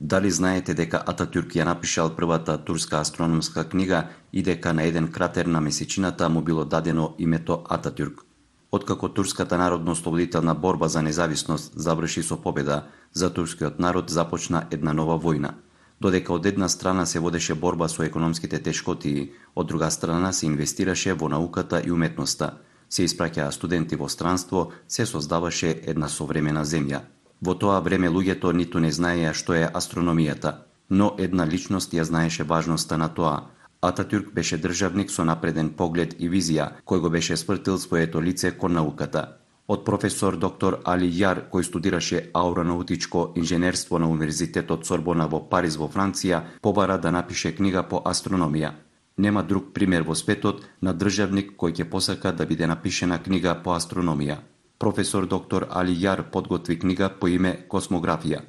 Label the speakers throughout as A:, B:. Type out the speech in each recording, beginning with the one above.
A: Дали знаете дека Ататюрк ја напишал првата турска астрономска книга и дека на еден кратер на месечината му било дадено името Ататюрк? Откако турската народно-ослободителна борба за независност заврши со победа, за турскиот народ започна една нова војна. Додека од една страна се водеше борба со економските тешкотии, од друга страна се инвестираше во науката и уметноста, се испраќаа студенти во странство, се создаваше една современа земја. Во тоа време луѓето ниту не знаеја што е астрономијата, но една личност ја знаеше важноста на тоа. Ататюрк беше државник со напреден поглед и визија, кој го беше свртил своето лице кон науката. Од професор доктор Али Јар, кој студираше аеронаутичко инженерство на Универзитетот Сорбона во Париз во Франција, побара да напише книга по астрономија. Нема друг пример во светот на државник кој ќе посака да биде напишена книга по астрономија. Професор доктор Али Јар подготви книга по име Космографија.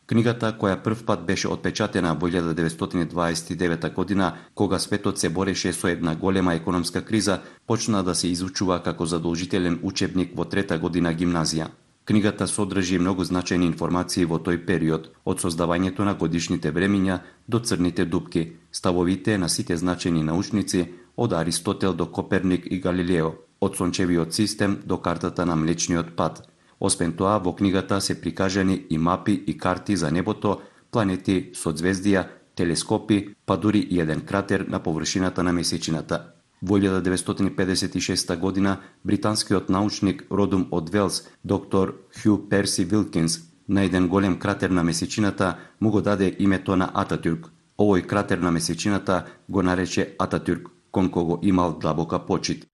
A: Книгата, која прв пат беше отпечатена во 1929 година, кога светот се бореше со една голема економска криза, почна да се изучува како задолжителен учебник во трета година гимназија. Книгата содржи многу значајни информации во тој период, од создавањето на годишните времиња до црните дупки, ставовите на сите значајни научници, од Аристотел до Коперник и Галилео, од сончевиот систем до картата на Млечниот пат. Освен тоа, во книгата се прикажани и мапи и карти за небото, планети, соцзвездија, телескопи, па дури и еден кратер на површината на месечината. Во 1956 година, британскиот научник родом од Велс, доктор Хју Перси Вилкинс, на еден голем кратер на месечината му го даде името на Ататюрк. Овој кратер на месечината го нарече Ататюрк, кон кого имал длабока почит.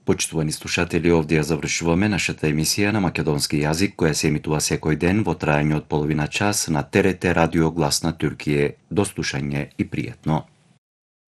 A: Почитувани слушатели, овде ја завршуваме нашата емисија на македонски јазик, која се емитува секој ден во трајање од половина час на ТРТ Радио Глас на Туркије. До слушање и пријатно.